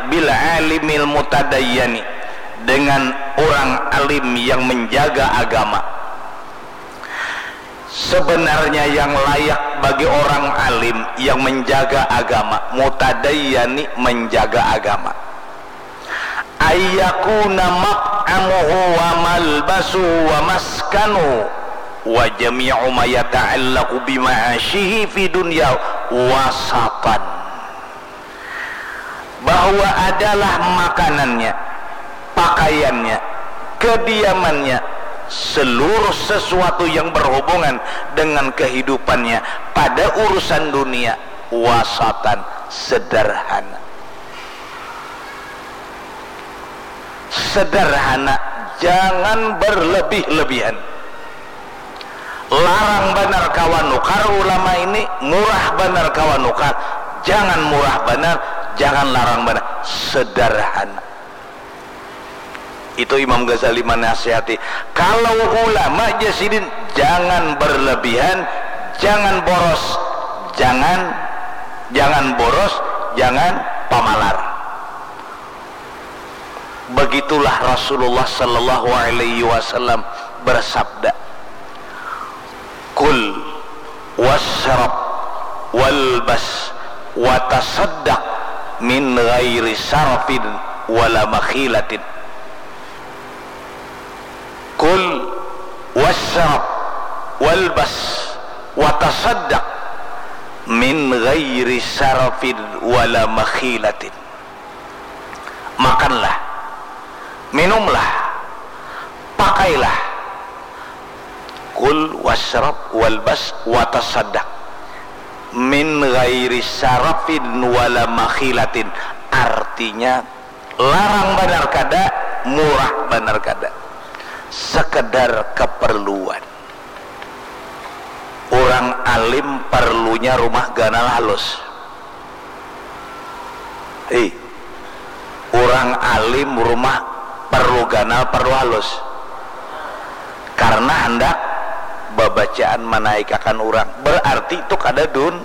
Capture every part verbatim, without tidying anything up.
bil alimil mutadayyani, dengan orang alim yang menjaga agama. Sebenarnya yang layak bagi orang alim yang menjaga agama, mutadayyani, menjaga agama, ayyakuna mat'amuhu wa malbasuhu wa maskanuhu wa jami'u ma yata'allaqu bima'ashihi fi dunya wasatan, bahwa adalah makanannya, pakaiannya, kediamannya, seluruh sesuatu yang berhubungan dengan kehidupannya pada urusan dunia, wasatan, sederhana. Sederhana, jangan berlebih-lebihan. Larang banar kawa nukar ulama ini, murah banar kawa nukar, jangan murah banar, jangan larang banar, sederhana. Itu Imam Ghazali menasihati. Kalau ulama, jar sidin, jangan berlebihan, jangan boros, jangan, jangan boros, jangan pamalar. Begitulah Rasulullah sallallahu alaihi wasallam bersabda, "Kul wasyrab walbas wa tasaddaq min ghairi sarafin wala makhilatin." Kul wasyrab walbas wa tasaddaq min ghairi sarafin wala makhilatin. Makanlah, minumlah, pakailah. Kul wasyrab walbas wa tasaddaq min ghairi sarafin wala makhilatin. Artinya, larang banar kada, murah banar kada. Sekedar keperluan. Orang alim perlunya rumah ganal halus. Hei, orang alim rumah perlu ganal, perlu halus. Karena handak babacaan, manaikakan orang. Berarti itu kada dun-,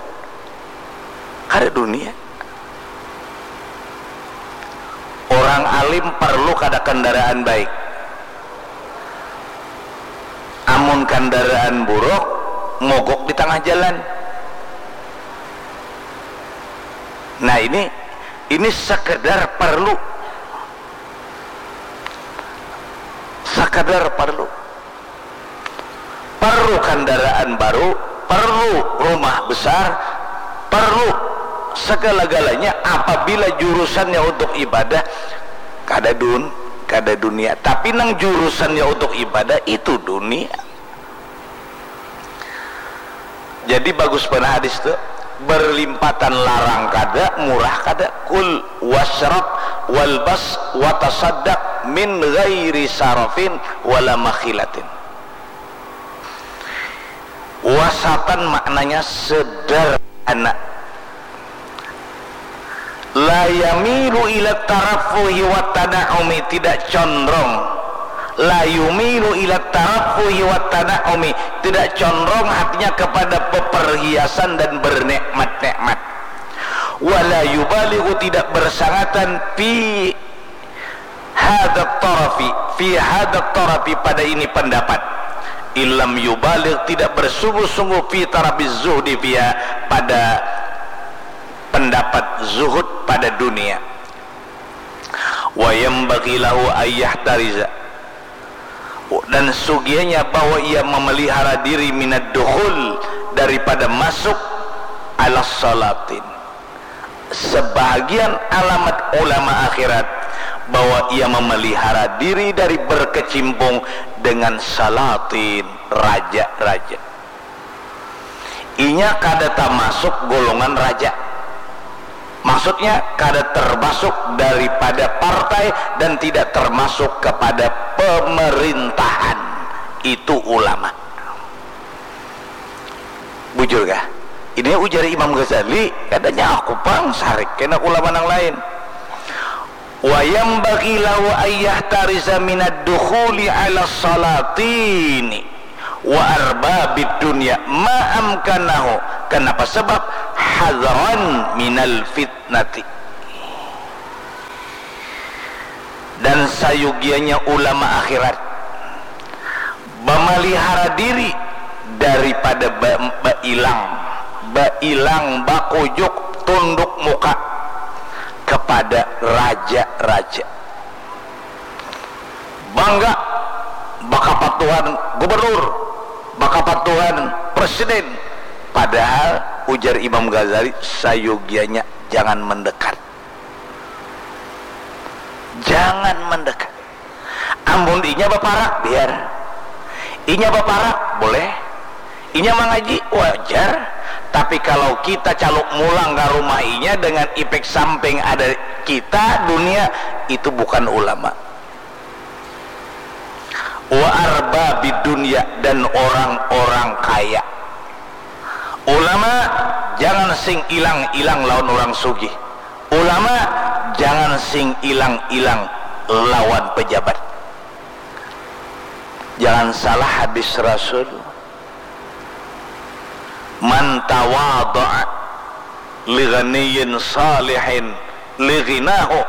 kada dunia. Orang alim perlu kada kendaraan baik. Amun kandaraan buruk, mogok di tangah jalan. Nah, ini, ini sekedar perlu. Sekedar perlu. Perlu kandaraan baru, perlu rumah besar, perlu segala-galanya. Apabila jurusannya untuk ibadah, kada dun-, kada dunia. Tapi nang jurusannya untuk ibadah, itu dunia. Jadi bagus banar hadis tu, berlimpatan, larang kada, murah kada. Kul wasyrab walbas wa tasaddaq min ghairi sarafin wala makhilatin. Wasatan maknanya sederhana. La yamilu ila tarafuhi wa tana'umi, tidak condrong. La yumilu ila tarafuhi wa tana'umi, tidak condrong hatinya kepada peperhiasan dan bernikmat-nikmat. Wala yubaligu, tidak bersangatan, fi hadat tarafi, fi hadat tarafi, pada ini pendapat. Ilam yubalig, tidak bersungguh-sungguh, fi tarafi zuhdi fiha, pada pendapat zuhud pada dunia. Wa yambagi lahu ayyahtariza, dan sugianya bahwa ia memelihara diri, minad dukhul, daripada masuk, ala salatin. Sebahagian alamat ulama akhirat bahwa ia memelihara diri dari berkecimpung dengan salatin, raja-raja. Inya kada tamasuk golongan raja. Maksudnya, kada termasuk daripada partai dan tidak termasuk kepada pemerintahan. Itu ulama. Bujur kah? Ini ujar Imam Ghazali, kadanya aku pang sarik kena ulama nang lain. Wa yambagi lahu ayyahtariza minad dukhuli ala salatini wa arbabid dunya ma amkanahu. Kenapa? Sebab hadran minal fitnati. sayugianya ulama akhirat, bamalihara diri daripada ba- bailang, bailang, bakujuk, tunduk muka kepada raja-raja. Bangga bakapatuhan gubernur, bakapatuhan presiden. Padahal ujar Imam Ghazali, sayugianya jangan mendekat. Jangan mendekat. Amun inya baparak, biar. Inya baparak, boleh. Inya mangaji, wajar. Tapi kalau kita caluk mulang ka rumah inya dengan ipek samping ada kita, dunia, itu bukan ulama. Wa arba bidunya, dan orang-orang kaya. Ulama jangan sing ilang-ilang lawan orang sugih. Ulama jangan sing ilang-ilang lawan pejabat. Jangan salah hadis Rasul, "Man tawadha'a li ghaniyin salihin li ghinahu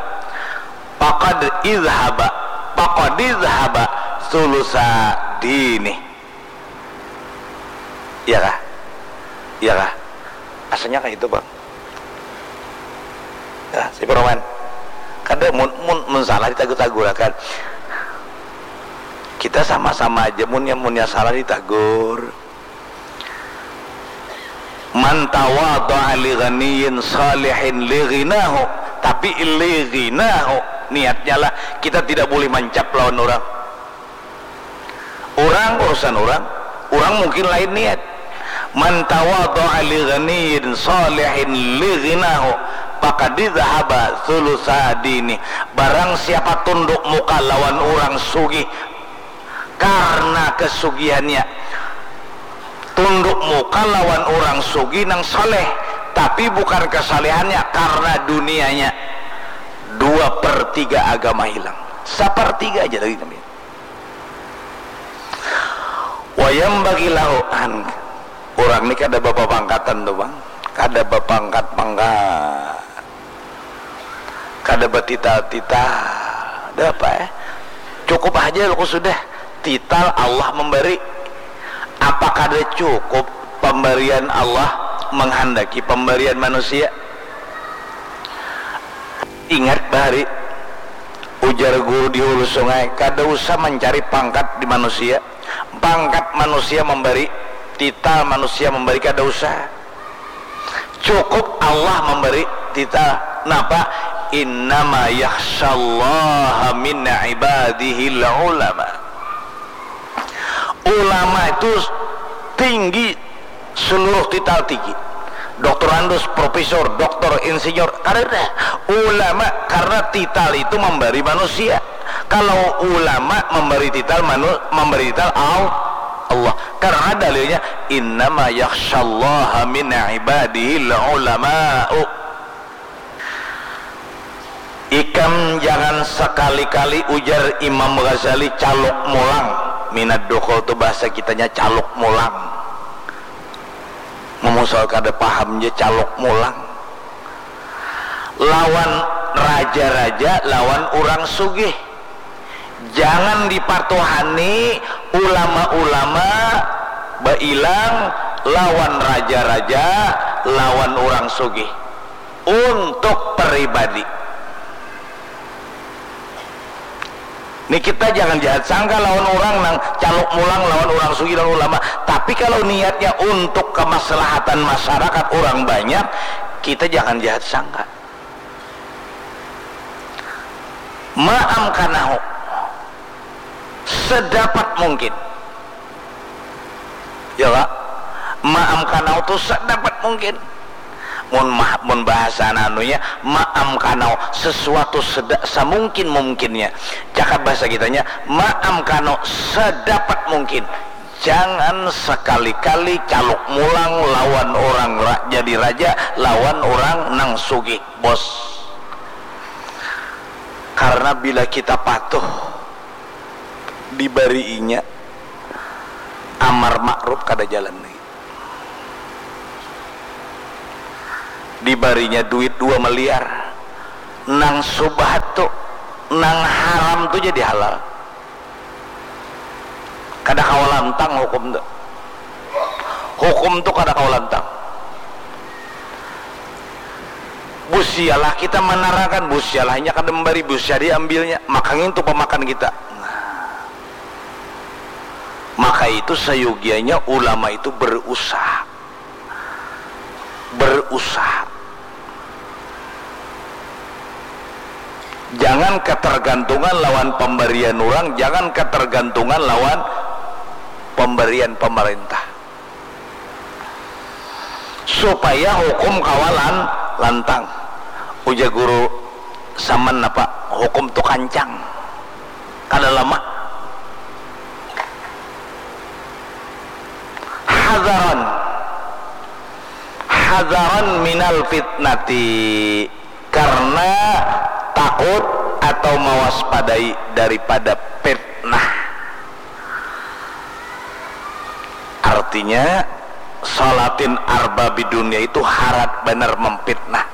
faqad izhaba faqad izhaba sulusa dini." Iya kah? Iya kah? Asalnya kayak itu, Bang. Ya, si Roman. Kada mun, mun, mun salah ditagur-tagurakan. Kita sama-sama aja, munnya, munnya salah ditagur. "Man tawadha'a li ghaniyin salihin li ghinahu." Tapi li ghinahu, niatnya lah, kita tidak boleh mancap lawan orang. Orang urusan orang, orang mungkin lain niat. "Man tawadha'a li ghaniyin salihin li ghinahu faqad izhaba sulusa dini." Barang siapa tunduk muka lawan orang sugih karena kesugihannya, tunduk muka lawan orang sugih nang saleh, tapi bukan kesalehannya, karena dunianya, dua per tiga agama hilang. Sapertiga aja lagi kami. Wayam bagi lahuan. Orang ni kada bapapangkatan tu, Bang. Kada bapangkat-pangkat. Kada batital-tital. Ada apa, eh? Cukup aja aku sudah. Tital Allah memberi. Apa kada cukup pemberian Allah menghendaki pemberian manusia? Ingat bahari, ujar guru di hulu sungai, kada usah mencari pangkat di manusia. Pangkat manusia memberi, tital manusia memberi, kada usah. Cukup Allah memberi tital. Napa? "Innama yakhsyallaha min ibadihil ulama." Ulama itu tinggi seluruh tital tinggi. Doktorandus, profesor, doktor, insinyur, karena ulama, karena tital itu memberi manusia. Kalau ulama memberi tital manu, memberi tital al, Allah. Karena dalilnya, "Innama yakhsyallaha min ibadihil ulama'u." Ikam jangan sekali-kali, ujar Imam Ghazali, caluk mulang. Minat dukul tu bahasa kitanya caluk mulang. Memusal kada paham je caluk mulang. Lawan raja-raja, lawan urang sugih. Jangan dipatuhani ulama-ulama bailang lawan raja-raja, lawan urang sugih. Untuk peribadi. Ni kita jangan jahat sangka lawan urang nang caluk mulang lawan urang sugih, lawan ulama. Tapi kalau niatnya untuk kemaslahatan masyarakat urang banyak, kita jangan jahat sangka. Maamkanahu, sedapat mungkin. Ya, Kak? Maamkanahu tu sedapat mungkin. Mun ma-, mun bahasa anunya, maamkanahu, sesuatu seda-, samungkin-mungkinnya. Cakap bahasa kitanya, maamkanahu, sedapat mungkin. Jangan sekali-kali caluk mulang lawan orang ra-, jadi raja, lawan orang nang sugih, bos. Karena bila kita patuh, dibariinya, amar makruf kada jalan lagi. Dibarinya duit dua miliar, nang subhat tu Nang haram tu jadi halal. Kada kawa lantang hukum tu. Hukum tu kada kawa lantang. Busialah kita manarangkan, busialah inya kada membari, busia diambilnya, maka ngintu pamakan kita. Maka itu sayugianya ulama itu berusaha. Berusaha. Jangan ketergantungan lawan pemberian orang, jangan ketergantungan lawan pemberian pemerintah. Supaya hukum kawalan lantang. Ujar guru saman apa, hukum tu kancang. Kada lama. Hadaran. Hadaran minal fitnati. Karena takut atau mewaspadai daripada fitnah. Artinya, salatin arbabi dunia itu harat banar memfitnah.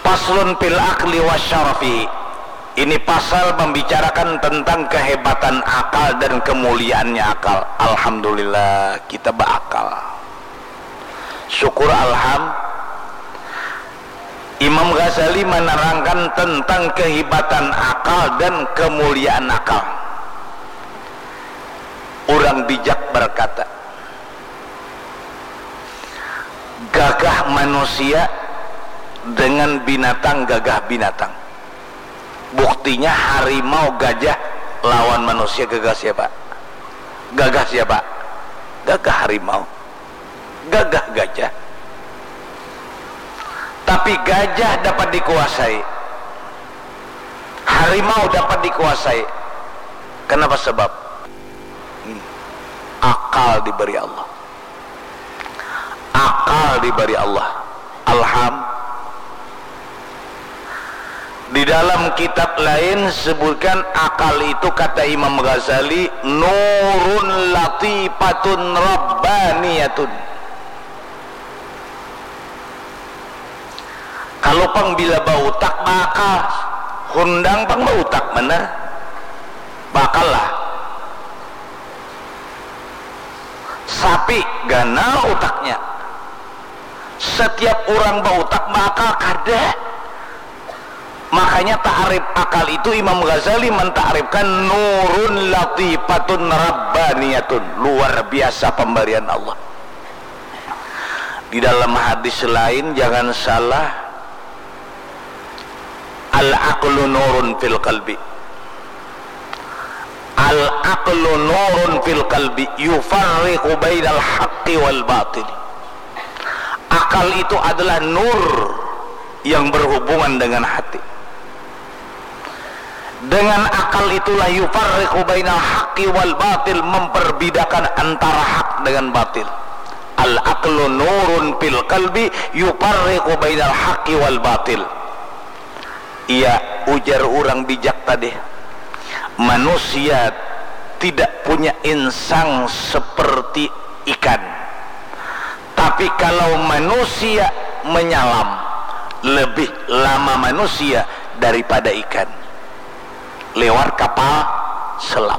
Paslun fil akli wa syarafi. Ini pasal membicarakan tentang kehebatan akal dan kemuliaannya akal. Alhamdulillah, kita berakal. Syukur alham. Imam Ghazali menerangkan tentang kehebatan akal dan kemuliaan akal. Orang bijak berkata, gagah manusia dengan binatang gagah binatang. Buktinya harimau, gajah lawan manusia gagah siapa? Gagah siapa? Gagah harimau. Gagah gajah. Tapi gajah dapat dikuasai. Harimau dapat dikuasai. Kenapa sebab? Hmm. Akal diberi Allah. Akal diberi Allah. Alham. Di dalam kitab lain sebutkan akal itu, kata Imam Ghazali, nurun latifatun rabbaniyatun. Kalau pang bila bautak bakal, hundang pang bautak mana? Bakal lah. Sapi ganal utaknya. Setiap orang bautak bakal kada. Makanya ta'rif akal itu Imam Ghazali menta'rifkan nurun latifatun rabbaniyatun, luar biasa pemberian Allah. Di dalam hadis lain, jangan salah, al-aqlu nurun fil qalbi. Al-aqlu nurun fil qalbi yufarriqu bainal haqqi wal batil. Akal itu adalah nur yang berhubungan dengan hati. Dengan akal itulah yufarriqu bainal haqqi wal batil, memperbedakan antara hak dengan batil. Al-aqlu nurun fil qalbi yufarriqu bainal haqqi wal batil. Iya, ujar urang bijak tadi, manusia tidak punya insang seperti ikan. Tapi kalau manusia menyalam, lebih lama manusia daripada ikan. Lewat kapal selam.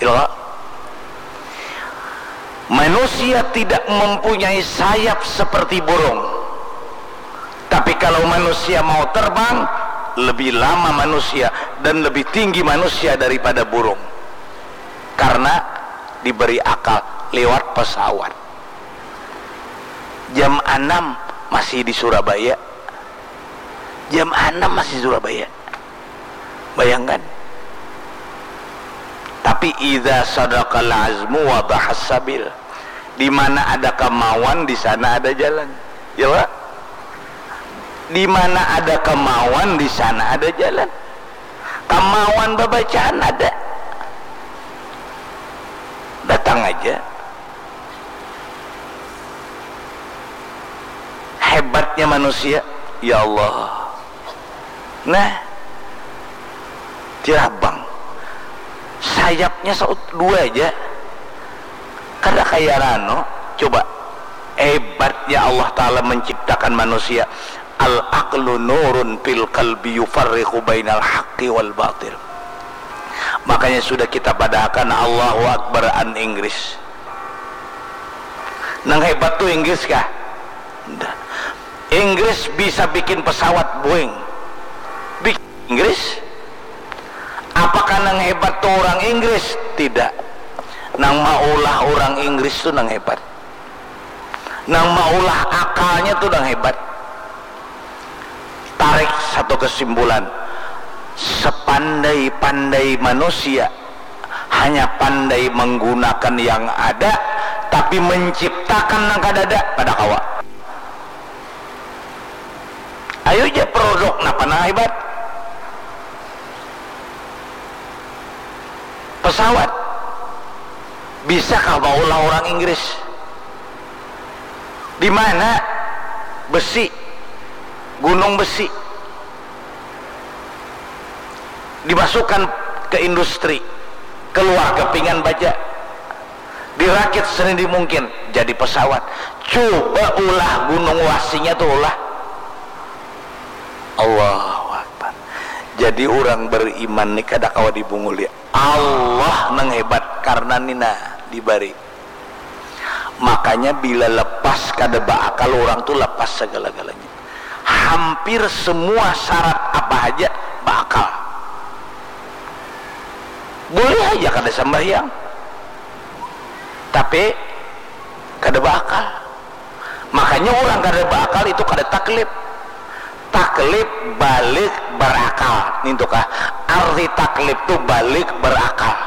Ilo. Manusia tidak mempunyai sayap seperti burung. Tapi kalau manusia mau terbang, lebih lama manusia dan lebih tinggi manusia daripada burung. Karena diberi akal lewat pesawat. Jam anam masih di Surabaya. Jam anam masih Surabaya. Bayangkan. Tapi idza sadaqal azmu wadahas sabil. Di mana ada kemauan, di sana ada jalan. Ya, Pak? Di mana ada kemauan, di sana ada jalan. Kemauan bebacaan ada. Datang aja. Hebatnya manusia, ya Allah. Nah, tirabang. Sayapnya saut dua aja. Kada kaya rano, coba. Hebatnya Allah Ta'ala menciptakan manusia. Al-aqlu nurun fil qalbi yufarriqu bainal haqqi wal batil. Makanya sudah kita padahakan Allahu Akbar an Inggris. Nang hebat tu Inggris kah? Inggris bisa bikin pesawat Boeing. Bikin Inggris. Apakah nang hebat tu orang Inggris? Tidak. Nang maulah orang Inggris tu nang hebat. Nang maulah akalnya tu nang hebat. Tarik satu kesimpulan, sepandai-pandai manusia hanya pandai menggunakan yang ada, tapi menciptakan nang kadada kada kawa. Ayu ja produk napa nang hebat? Pesawat. Bisakah maulah orang Inggris? Di mana besi, gunung besi, dimasukkan ke industri, keluar kepingan baja, dirakit senindi mungkin, jadi pesawat. Coba ulah gunung wasinya tu ulah. Allahu Akbar. Jadi orang beriman ni kada kawa dibunguli. Allah nang hebat karena nina dibari. Makanya bila lepas kada baakal orang tu lepas segala-galanya. Hampir semua syarat apa haja baakal. Boleh aja kada sambahyang, tapi kada baakal. Makanya orang kada baakal itu kada taklif. Taklif balik berakal. Nintu kah? Arti taklif tu balik berakal.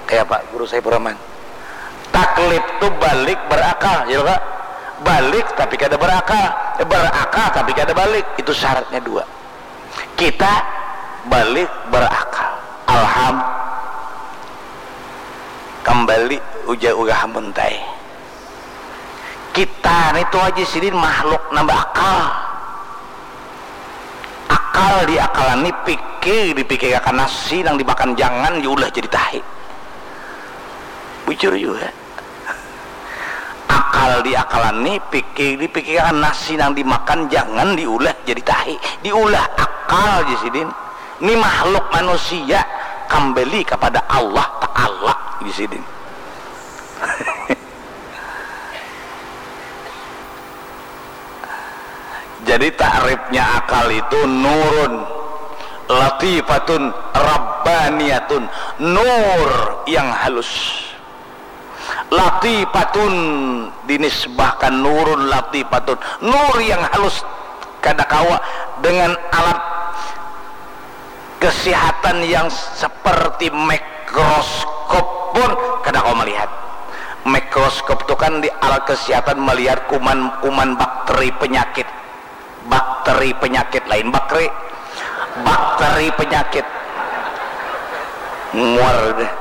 Kayak Pak Guru Saifur Rahman. Taklif tu balik berakal, ya kah? Balik tapi kada berakal, berakal tapi kada balik. Itu syaratnya dua. Kita balik berakal. Alham. Kembali ujar urang Muntai. Kita ni tu aja sidin makhluk nang beakal. Akal diakalani, pikir dipikirakan, nasi nang dimakan jangan diulah jadi tahi. Bujur jua. Akal diakalani, pikir dipikirakan, nasi nang dimakan jangan diulah jadi tahi. Diulah akal ja sidin. Ni makhluk manusia kambali kapada Allah Ta'ala ja sidin. Jadi takrifnya akal itu nurun, latifatun, rabbaniyatun, nur yang halus. Latifatun dinisbahkan nurun latifatun, nur yang halus, kada kawa dengan alat kesihatan yang seperti mikroskop pun kada kawa melihat. Mikroskop tu kan di alat kesihatan melihat kuman-kuman bakteri penyakit. Bakteri penyakit lain bakri. Bakteri penyakit. Muar deh.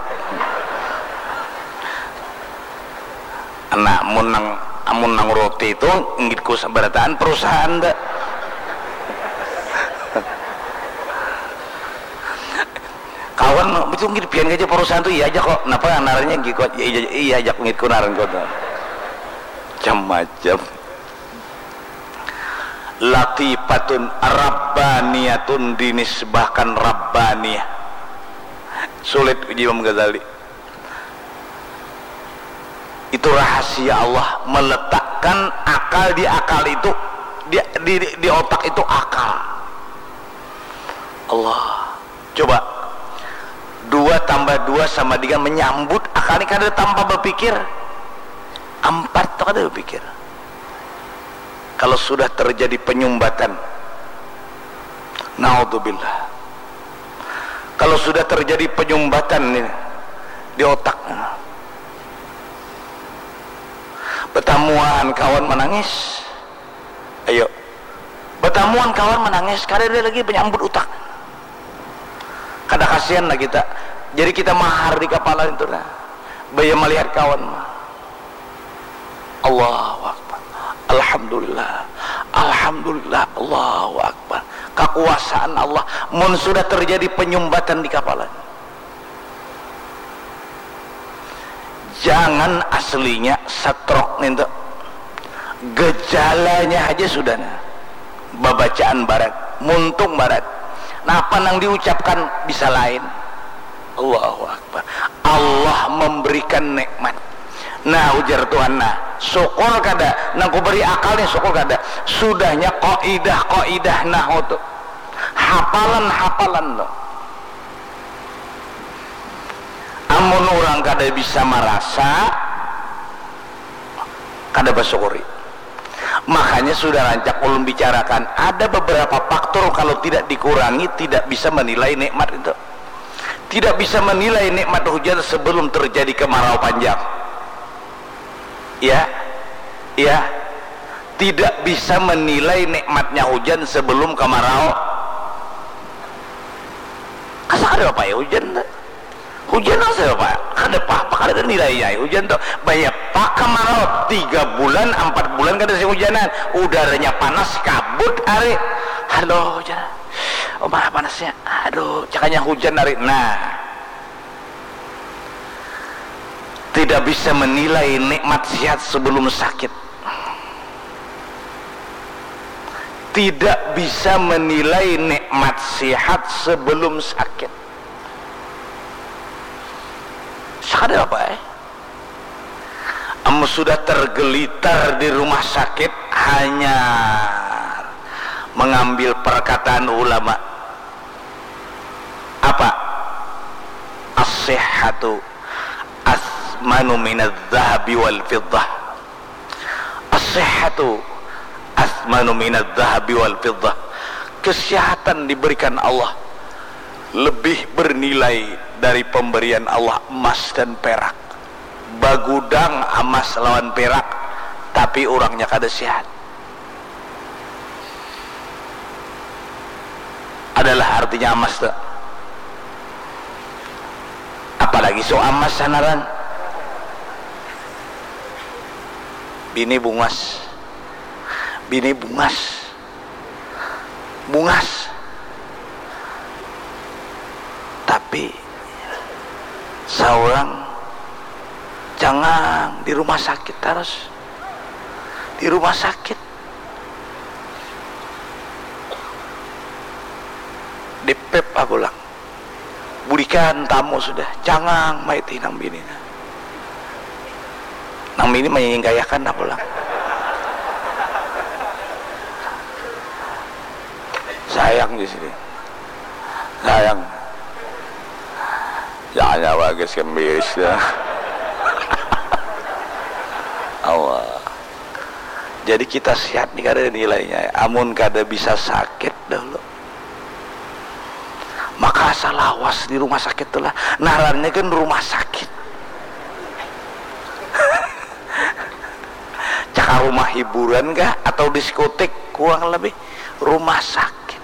Nah, mun nang, amun nang roti tu, nggit ku sabarataan perusahaan dah. Kawan, itu nggit pian aja perusahaan tu, iya aja kok. Napa ngarannya nggit kok? Iya, iya, iya aja nggit ku ngaran kok. Macam-macam. Latifatun rabbaniyatun dinisbahkan rabbaniyah. Sulit uji Imam Ghazali. Itu rahasia Allah meletakkan akal di akal itu, di, di, di otak itu akal. Allah. Coba, dua tambah dua sama dengan menyambut akal ni kada tanpa berpikir. Ampat tu kada berpikir. Kalau sudah terjadi penyumbatan, naudzubillah. Kalau sudah terjadi penyumbatan ni di otak, betamuan kawan menangis, ayo, betamuan kawan menangis, kada ada lagi penyambut utak, kada kasihan lah kita. Jadi kita mahar di kapala itu nah, baya melihat kawan mah. Allahu Akbar. Alhamdulillah. Alhamdulillah. Allahu Akbar. Kekuasaan Allah. Mun sudah terjadi penyumbatan di kapala. Jangan aslinya stroke nintu. Gejalanya haja sudah nah. Babacaan barat, muntung barat. Napa nang diucapkan bisa lain. Allahu Akbar. Allah memberikan nikmat. Nah, ujar Tuhan, nah, syukur kada? Nang kuberi akal nih, syukur kada? Sudahnya kaidah-kaidah nahu tu. Hafalan-hafalan tu. Amun urang kada bisa marasa, kada basyukuri. Makanya sudah rancak ulun bicarakan, ada beberapa faktor kalau tidak dikurangi, tidak bisa menilai nikmat itu. Tidak bisa menilai nikmat hujan sebelum terjadi kemarau panjang. Ya, ya. Tidak bisa menilai nikmatnya hujan sebelum kemarau. Asa kada apa ya hujan tu? Hujan nang siapa? Kada apa-apa, kada ada nilainya ai hujan tu. Banyak pak kemarau, tiga bulan, empat bulan kada sing hujanan. Udaranya panas, kabut hari. Halo, hujan. Oh, mana panasnya? Aduh, cakanya hujan hari. Nah. Tidak bisa menilai nikmat sihat sebelum sakit. Tidak bisa menilai nikmat sihat sebelum sakit. Sakit apa eh? Amun sudah tergelitar di rumah sakit, hanya mengambil perkataan ulama. Apa? As-sihhatu asmanu minadz-dzahabi wal fiddah. As-sihhatu asmanu minadz-dzahabi wal fiddah. Kesehatan diberikan Allah lebih bernilai dari pemberian Allah emas dan perak. Bagudang emas lawan perak, tapi urangnya kada sehat. Adalah artinya emas tu. Apalagi so emas sanaran. Bini bungas. Bini bungas. Bungas. Tapi seorang jangan di rumah sakit terus. Di rumah sakit. Dipep ah pulang. Bulikan tamu sudah, cangang maitih nang bini. Nang bini manyingkayakan ah pulang. Sayang di sini. Sayang. Jangan nyawa guys kembiris dah. Allah. Jadi kita sehat ni kada ada nilainya. Amun kada bisa sakit dahulu. Maka asa lawas di rumah sakit tu lah. Narannya kan rumah sakit. Cakah rumah hiburan kah atau diskotik? Kurang lebih rumah sakit.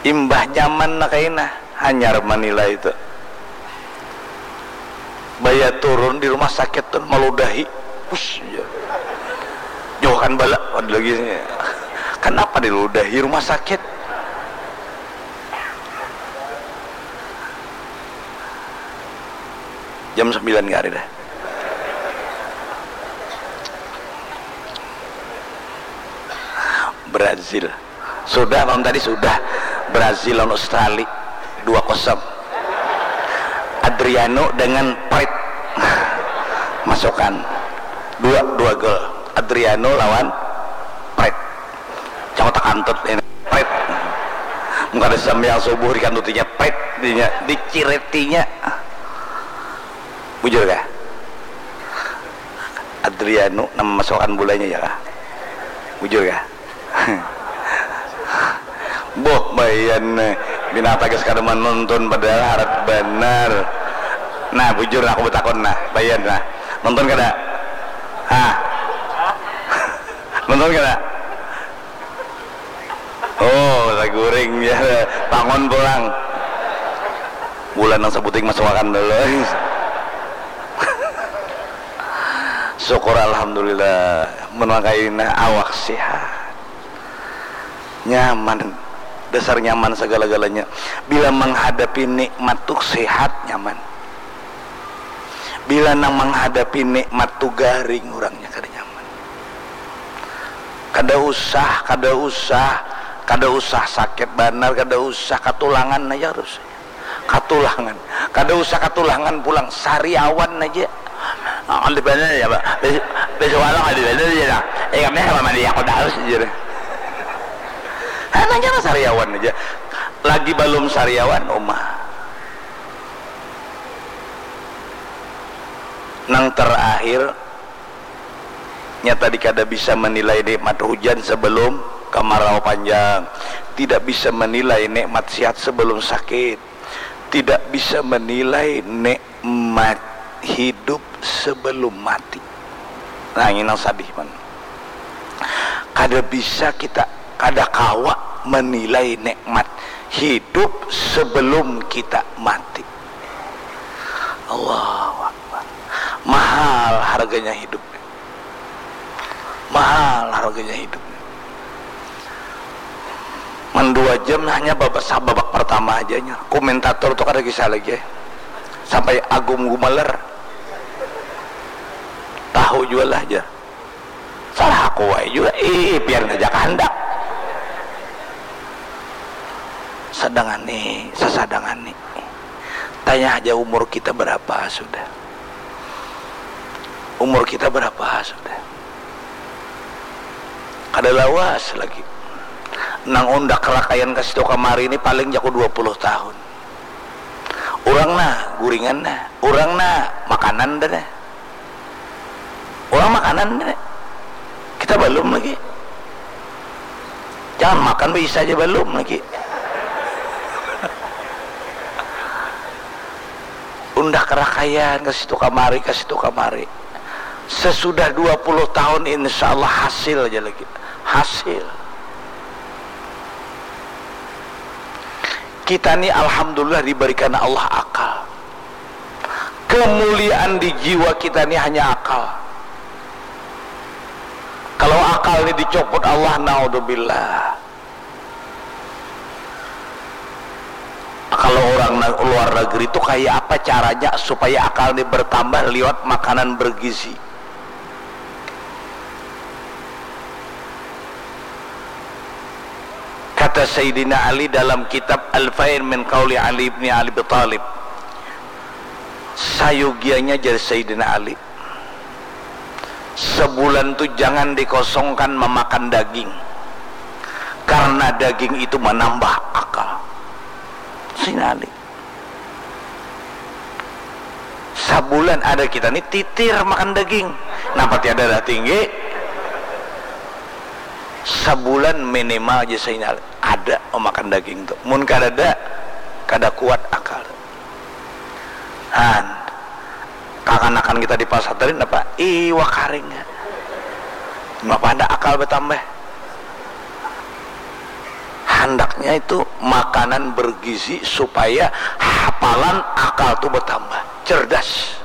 Imbah nyaman nah kaina. Hanyar manilai tu. Baya turun di rumah sakit tu maludahi. Pus, ya. Jauhkan bala, ada lagi. Kenapa diludahi rumah sakit? Jam sembilan hari dah. Brazil. Sudah malam tadi sudah. Brazil lawan Australia dua kosong. Adriano dengan Pret masukkan dua dua gol. Adriano lawan Pret. Cang takantut ini Pret. Muka ada sambil subuh dikantutinya Pret dinya diciretinya. Bujur kah? Adriano nama masukkan bulanya ya kah? Bujur kah? Boh bayan nih. Binatang guys kada menonton padahal harat benar. Nah bujur aku betakon nah bayan nah nonton kada? Hah? Nonton kada? Oh, saguring ya. Tangon pulang. Bulan nang sebuting masuk akan dulu. Syukur alhamdulillah. Menang kaina awak sehat. Nyaman. Dasar nyaman segala-galanya. Bila menghadapi nikmat tuh sehat nyaman. Bila nang manghadapi nikmat tu garing urangnya, kada nyaman. Kada usah, kada usah, kada usah sakit banar, kada usah, katulangan aja harus. Katulangan. Kada usah katulangan pulang, sariawan aja. Nah, di mana ya, Pak? Bes-, besok malam di mana ya, nah? Eh, kami sama dia, aku dah harus aja deh. Hanya sariawan aja. Lagi belum sariawan, umah. Nang terakhir, nya tadi kada bisa menilai nikmat hujan sebelum kemarau panjang, tidak bisa menilai nikmat sihat sebelum sakit, tidak bisa menilai nikmat hidup sebelum mati. Nah, ini nang sadih, man. Kada bisa kita, kada kawa menilai nikmat hidup sebelum kita mati. Allahu Akbar. Mahal harganya hidup. Mahal harganya hidup. Man dua jam hanya babak, babak pertama aja nya. Komentator tuh kada kisah lagi, eh. Sampai Agung Gumelar. Tahu jua lah aja. Salah aku wae jua, ih, pian saja kahandak. Sadangani, sasadangani. Tanya aja umur kita berapa sudah. Umur kita berapa sudah. Kada lawas lagi. Nang undak rakaian ka situ kamari ni paling jaku dua puluh tahun. Urang nah, guringan nah. Urang nah, makanan dah nah. Urang makanan nih. Kita balum lagi. Jangan makan, bisa aja balum lagi. Undak rakaian, ka situ kamari, ka situ kamari. Sesudah dua puluh tahun, insya Allah hasil aja lagi. Hasil. Kita ni alhamdulillah diberikan Allah akal. Kemuliaan di jiwa kita ni hanya akal. Kalau akal ni dicopot Allah, naudzubillah. Kalau orang na-, luar negeri tu kaya apa caranya supaya akal ni bertambah liwat makanan bergizi? Kata Sayyidina Ali dalam kitab Alfain min Qauli Ali ibni Abi Thalib, sayugianya, jar Sayyidina Ali, sebulan tu jangan dikosongkan memakan daging, karena daging itu menambah akal. Sayyidina Ali. Sabulan ada kita ni titir makan daging. Napa tiada darah tinggi? Sabulan minimal aja saya ada memakan daging tu. Mun kada ada, kada kuat akal. Han, kakanakan kita di pasar tadi napa? Iwak karing. Napa ada akal bertambah? Handaknya itu makanan bergizi supaya hafalan akal tu bertambah, cerdas.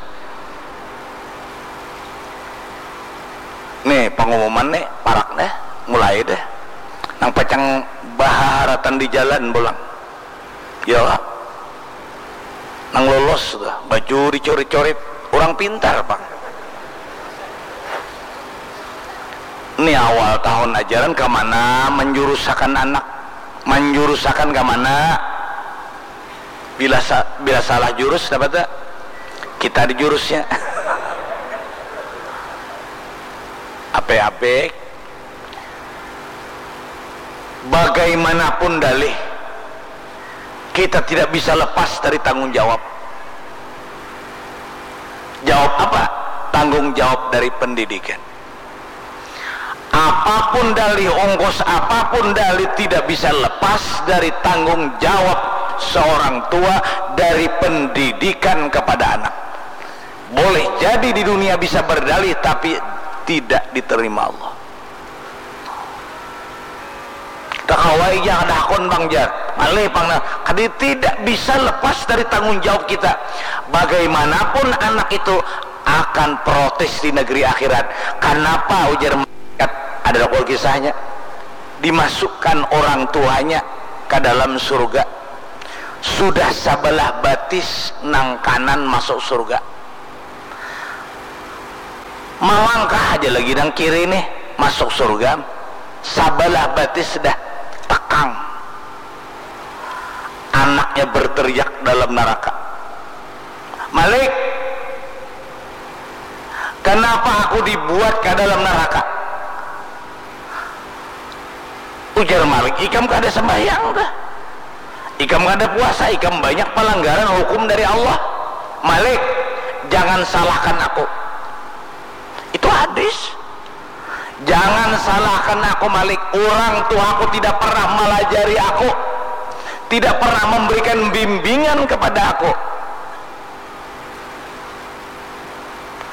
Nih, pengumuman nih, parak nih, mulai deh. Nang pacang baharatan di jalan pulang. Ya, nang lolos tuh, baju dicorit-corit, orang pintar, Pak. Ini awal tahun ajaran, ke mana menjurusakan anak? Menjurusakan ke mana? Bila sa-, bila salah jurus, dapat tak? Kita di jurusnya. Ape-ape, bagaimanapun dalih, kita tidak bisa lepas dari tanggung jawab. Jawab apa? Tanggung jawab dari pendidikan. Apapun dalih, ongkos apapun dalih, tidak bisa lepas dari tanggung jawab seorang tua dari pendidikan kepada anak. Boleh jadi di dunia bisa berdalih, tapi tidak diterima Allah. Takawai ja kada hakun pang, jar. Malih pang nah. Kadi tidak bisa lepas dari tanggung jawab kita. Bagaimanapun anak itu akan protes di negeri akhirat. Kanapa, ujar malaikat, ada dokol kisahnya, dimasukkan orang tuanya ke dalam surga. Sudah sabalah batis nang kanan masuk surga. Malangkah aja lagi nang kiri nih, masuk surga, sabalah batis dah tekang. Anaknya berteriak dalam neraka, "Malik, kenapa aku dibuat ke dalam neraka?" Ujar Malik, "Ikam kada sembahyang dah. Ikam kada puasa, ikam banyak pelanggaran hukum dari Allah. Malik, jangan salahkan aku." Itu hadis. "Jangan salahkan aku, Malik. Orang tuaku tidak pernah melajari aku, tidak pernah memberikan bimbingan kepada aku."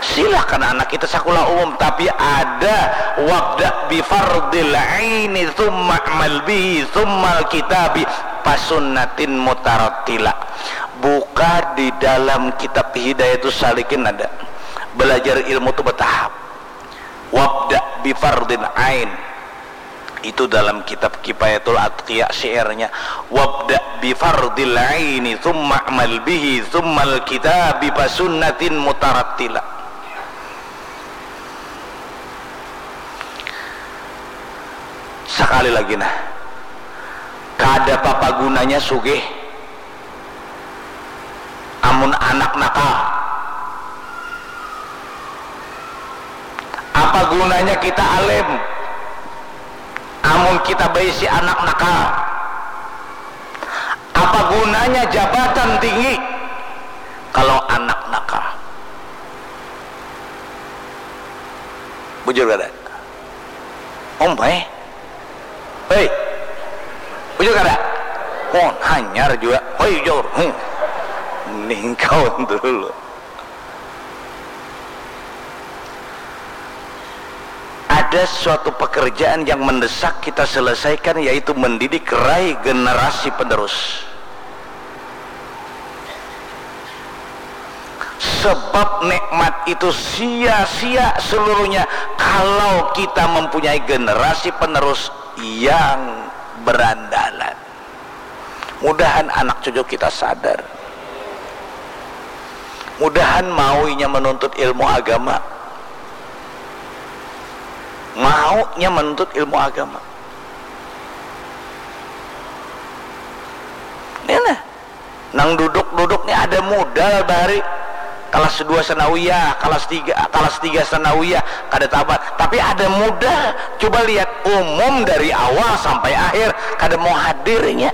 Silakan anak kita sekolah umum, tapi ada wabda bifardil aini thumma amal bihi thumma kitabi pasunnatin mutarattila. Buka di dalam kitab Hidayatus Salikin ada. Belajar ilmu tu bertahap. Wabda bifardil ain. Itu dalam kitab Kifayatul Atqiya syairnya, "Wabda bifardil aini thumma amal bihi thummal kitabi fasunnatin mutarattila." Sekali lagi nah, kada papa gunanya sugih amun anak nakal. Apa gunanya kita alim amun kita baisi anak nakal? Apa gunanya jabatan tinggi kalau anak nakal? Bujur kada? Umai. Hei. Bujur kada? Oh, hanyar juga. Hei, jor. Hmm. Ningkaun dulu. Ada suatu pekerjaan yang mendesak kita selesaikan, yaitu mendidik rai generasi penerus. Sebab nikmat itu sia-sia seluruhnya kalau kita mempunyai generasi penerus yang berandalan. Mudahan anak cucu kita sadar. Mudahan mau inya menuntut ilmu agama. Maunya menuntut ilmu agama. Ini nah, nang duduk-duduk ni ada modal bahari. Kelas dua sanawiyah, kelas tiga, kelas tiga sanawiyah, kada tamat. Tapi ada modal. Coba lihat umum dari awal sampai akhir, kada mau hadirnya.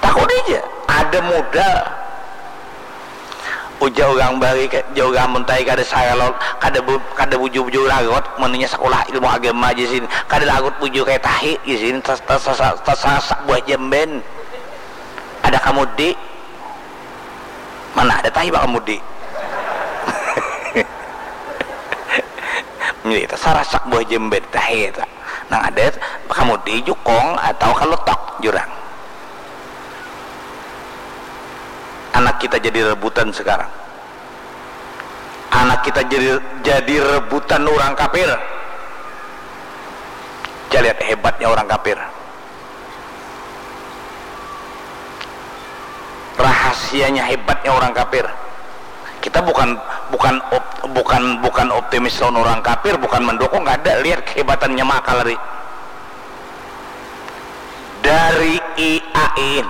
Takut aja, ada modal. Ujar urang bahari, ka-, ujar urang muntai kada salot, kada bu-, kada bujur-bujur larut, munnya sakulah ilmu agama aja sini. Kada larut bujur kaya tahi di sini, tas-, tas-, tas-, tas-, tasasak buah jamban. Ada kamudi. Mana ada tahi bakamudi. Jadi tasarasak buah jamban tahi ta. Nang ada kamudi, jukung atau kalotok jurang. Anak kita jadi rebutan sekarang. Anak kita jadi, jadi rebutan orang kafir. Kita lihat hebatnya orang kafir. Rahasianya hebatnya orang kafir. Kita bukan, bukan op-, bukan, bukan optimis lawan orang kafir, bukan mendukung, kada. Lihat kehebatannya maka lari. Dari I A I N.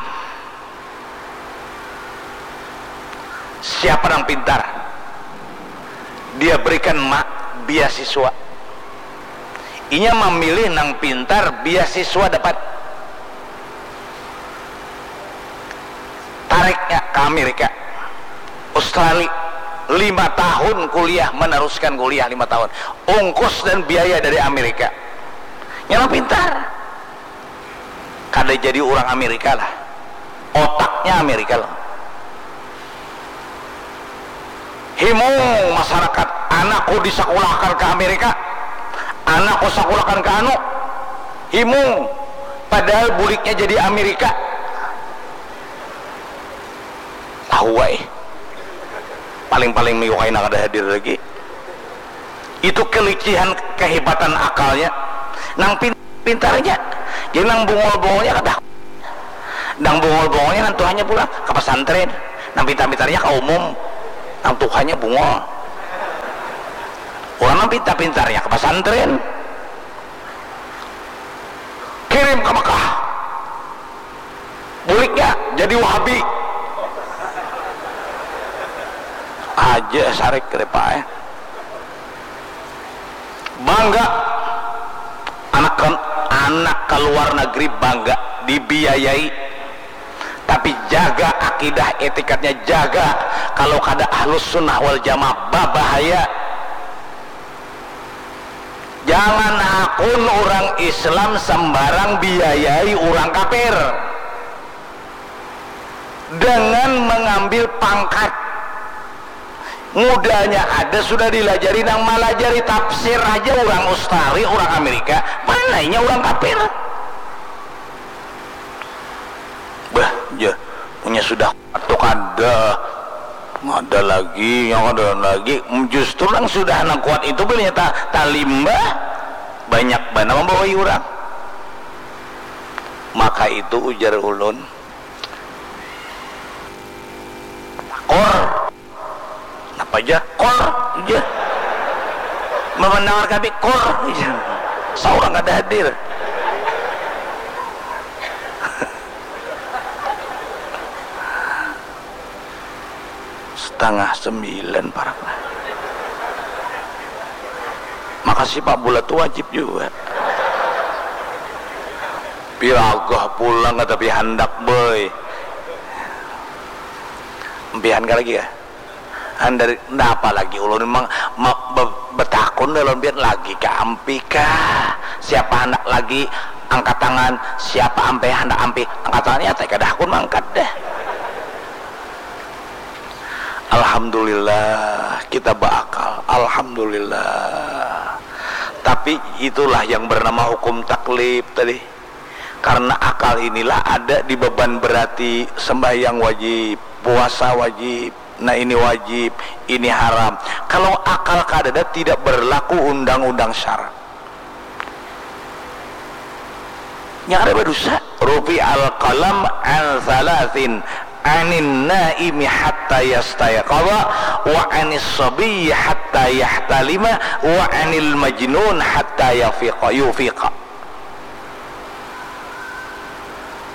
Siapa nang pintar? Dia berikan ma-, beasiswa. Inya mamilih nang pintar, beasiswa dapat. Tariknya ke Amerika, Australia, lima tahun kuliah, meneruskan kuliah lima tahun. Ungkos dan biaya dari Amerika. Nya nang pintar. Kada jadi urang Amerika lah. Otaknya Amerika lah. Himung masyarakat, anakku disakulahkan ka Amerika, anakku sakulahkan ka anu. Himung, padahal buliknya jadi Amerika. Tahu ai. Paling-paling minggu kaina kada hadir lagi. Itu kelicihan, kehebatan akalnya. Nang pin-, pintarnya. Jadi nang bungul-bungulnya kada. Nang bungul-bungulnya nang tuhannya pulang ka pesantren. Nang pintar-pintarnya ka umum. Nang tuhannya bungul. Kita pintarnya ke pesantren, kirim ke Mekah, buliknya jadi Wahabi aja, sarik, eh. Bangga anak, anak keluar negeri, bangga dibiayai, tapi jaga akidah, etikatnya jaga. Kalau kada ahlus sunnah wal jamaah, babahaya. Jangan hakun orang Islam sembarang biayai orang kafir dengan mengambil pangkat. Mudanya ada sudah dilajari, nang malajari tafsir aja orang Australia, orang Amerika, mana inya orang kafir. Bah, ya, punya sudah kuat tu kada. Ada lagi, yang ada lagi. Justru nang sudah nang kuat itu bilanya ta, talimba, banyak banar membawai urang. Maka itu ujar ulun. Kor. Napa ja? Kor ja. Memendangar kami, kor ja. Saurang kada hadir. Setengah sembilan parak lah. Makasih Pak, bulat tu wajib jua. Piragah pulang ka tapi handak, boy. Empihan ka lagi kah? Andari, napa lagi ulun mang, ma, be, betakun dalam pian lagi ka ampi kah? Siapa handak lagi angkat tangan? Siapa ampe handak ampi angkat tangan? Ya, kada hakun mangkat dah. Alhamdulillah, kita beakal. Alhamdulillah. Tapi itulah yang bernama hukum taklif tadi. Karena akal inilah ada di beban berati, sembahyang wajib, puasa wajib, nah ini wajib, ini haram. Kalau akal kadada, tidak berlaku undang-undang syara. Nya kada badusa. Rufi al qalam an salasin, anin naimi hatta yastayqadha, wa anis sabiyyi hatta yahtalima, wa anil majnun hatta yafiqa, yufiqa.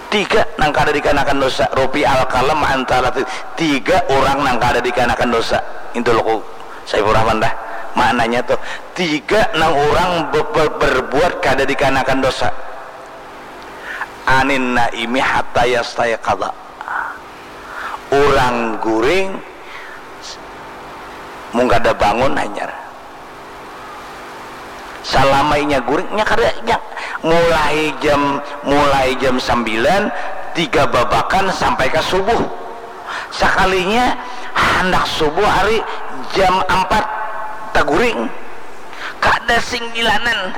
Tiga nang kada dikanakan dosa. Rufi al qalam an salasin. Tiga orang nang kada dikanakan dosa. Itu loku Saiful Rahman dah. Maknanya tuh, tiga nang orang be, be, berbuat kada dikanakan dosa. Anin naimi hatta yastayqadha. Urang guring mung kada bangun hanyar. Salama inya guring, nya kada, nya mulai jam, mulai jam sambilan, tiga babakan sampai ka subuh. Sakalinya handak subuh hari jam ampat taguring. Kada singgilanan.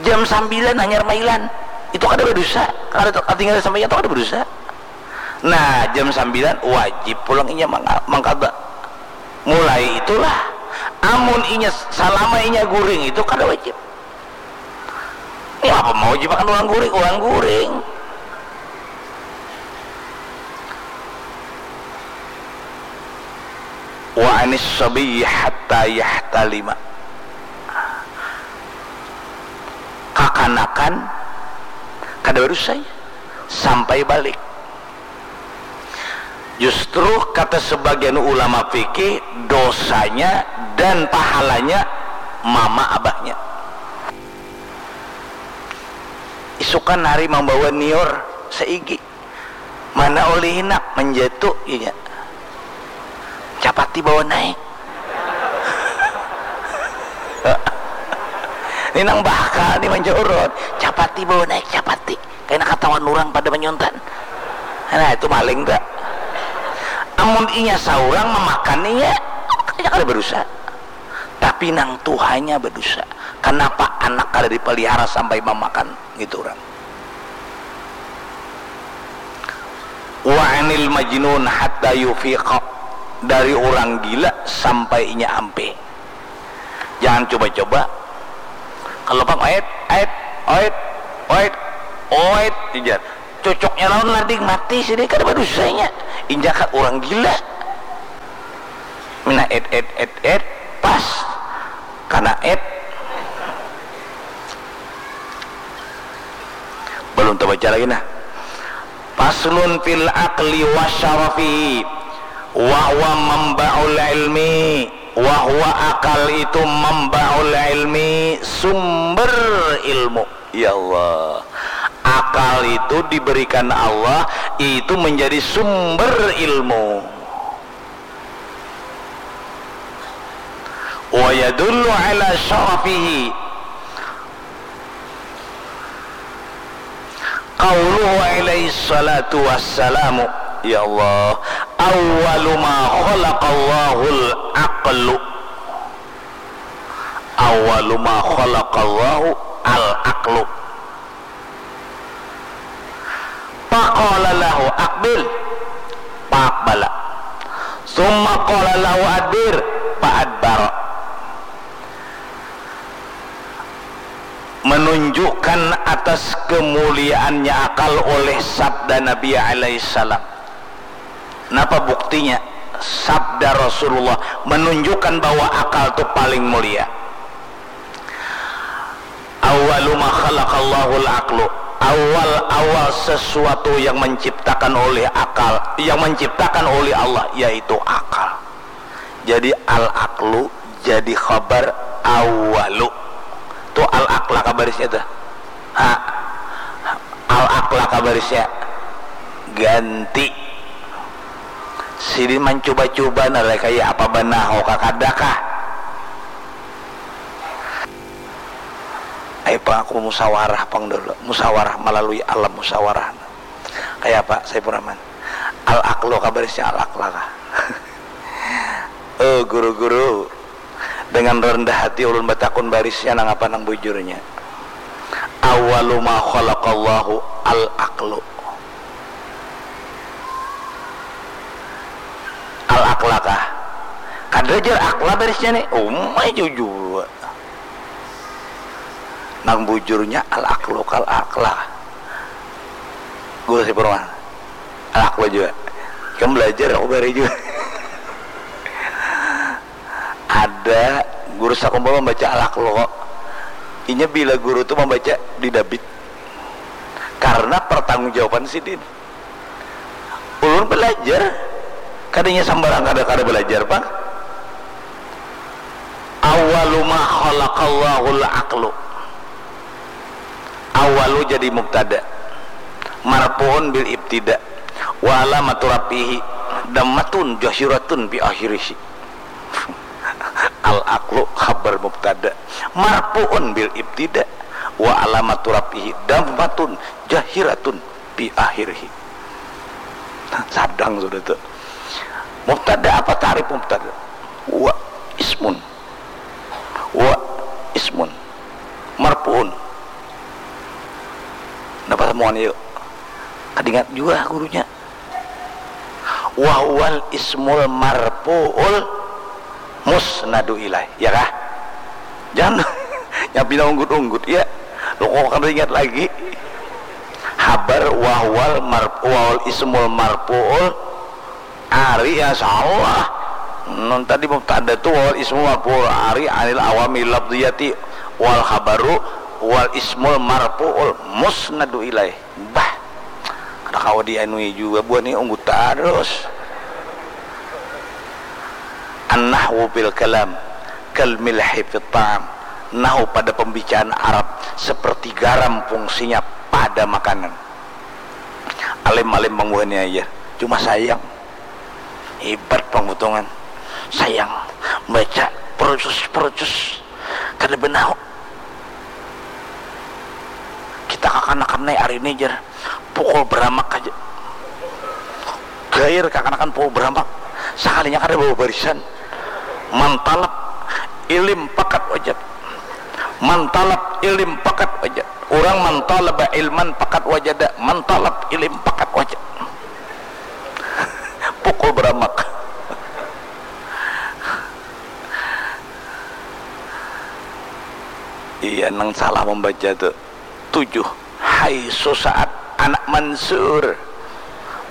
Jam sambilan hanyar mailan. Itu kada badusa. Kada, katinggalan sambilan tu kada badusa. Nah, jam sambilan wajib pulang inya manga, mangkada. Mulai itulah, amun inya, salama inya guring itu kada wajib. Ini apa mau jibakan urang guring? Urang guring. Wa anis sabiyyi hatta yahtalima. Kakanakan kada badusa sampai balik. Justru kata sebagian ulama fikih, dosanya dan pahalanya mama abahnya. Isukan hari mambawa niur saigi. Mana ulih hinak manjatu inya. Capati bawa naik. Ni nang bakal ni manjurut. Capati bawa naik, capati. Kaina katahuan urang pada manyuntan. Nah, itu maling tu. Amun inya saurang mamakan inya, inya kada badusa. Tapi nang tuhanya badusa. Kanapa anak kada dipelihara sampai mamakan? Gitu urang. Wa anil majnun hatta yufiqa, dari urang gila sampai inya ampe. Jangan coba-coba. Kalau pang oit, oit, oit, oit, oit, ujar. Cocoknya lawan lading mati sidin, kada badusanya. Injakan urang gila. Nah, et et et et, pas kana et. Belum tabaca lagi nah. Faslun fil aqli wa syarafihi, wa huwa mambaul ilmi, wa huwa, akal itu, mambaul ilmi, sumber ilmu. Ya Allah, akal itu diberikan Allah, itu menjadi sumber ilmu. Wa yadullu ala syarafihi qauluhu alaihi salatu wassalamu, ya Allah, awwalu ma khalaqallahul aqlu. Awwalu ma khalaqallahu al aqlu. Faqala lahu aqbil, faqbala. Summa qala lahu adbir, fa adbara. Menunjukkan atas kemuliaannya akal oleh sabda Nabi alaihissalam. Napa buktinya? Sabda Rasulullah menunjukkan bahwa akal tu paling mulia. Awwalu ma khalaqallahul aqlu. Awal-awal sesuatu yang menciptakan oleh akal, yang menciptakan oleh Allah, yaitu akal. Jadi al-aqlu jadi khabar awwalu. Tu al-aqla kabarisnya tu. Ha. Al-aqla kabarisnya. Ganti. Sidin mancuba-cuba nah, kaya apa banaho ka kada kah? Ayo pang aku musawarah pang dulu. Musawarah melalui alam musawarah. Kaya apa, Saifur Rahman? Al-aqlu kabarisnya al-aqla kah? Oh, guru-guru, dengan rendah hati ulun batakun barisnya nang apa nang bujurnya. Awwalu ma khalaqallahu al-aqlu. Al-aqla kah? Kada jar akla barisnya nih. Umai jujur. Nang bujurnya al-aqlu kal aqla. Guru Saifur Rahman. Al-aqlu jua. Ikam belajar aku bari jua. Ada guru sakumpul membaca al-aqlu kok. Inya bila guru tu membaca di dabit. Karena pertanggungjawaban sidin. Ulun belajar. Kadanya sambarang kada, kada belajar pang. Awwalu ma khalaqallahul aqlu. Awwalu jadi mubtada. Marfu'un bil ibtida. Wa alamatu raf'ihi dammatun zahiratun fi akhirih. Al-aqlu khabar mubtada. Marfu'un bil ibtida. Wa alamatu raf'ihi dammatun zahiratun fi akhirih. Sadang sudah tu. Mubtada, apa tarif mubtada? Wa ismun. Wa ismun. Marfu'un. Napa samuan yuk? Kadingat jua gurunya. Wa huwal ismul marfu'ul musnadu ilaih. Ya kah? Jangan nyampi nang unggut-unggut ya. Lo kok kada ingat lagi? Habar wa huwal mar-, wa huwal ismul marfu'ul ari, ya salah. Nun tadi mubtada tu wa huwal ismul marfu'ul ari anil awamil lafziyati wal khabaru wal ismul marfu'ul musnadu ilaih. Bah, kada kawa dianui jua buhan ni, unggut tarus. An-nahwu fil kalam kal milhi fit ta'am. Nahwu pada pembicaraan Arab seperti garam fungsinya pada makanan. Alim-alim pang buhannya aja. Cuma sayang. Hebat pang butongan. Sayang. Baca perucus-perucus. Kada benau. Kita kakanakan nih hari ini, jar. Pukul beramak aja. Gair kakanakan pukul beramak. Sakalinya kada bawa barisan. Mantalap ilim pakat wajat. Mantalap ilim pakat wajat. Orang mantalaba ilman pakat wajada. Mantalap ilim pakat wajat. Pukul beramak. Iya, nang salah membaca tu. Tujuh. Hai susaat anak Mansur.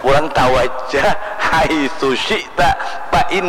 Orang tahu aja. Hai susyita.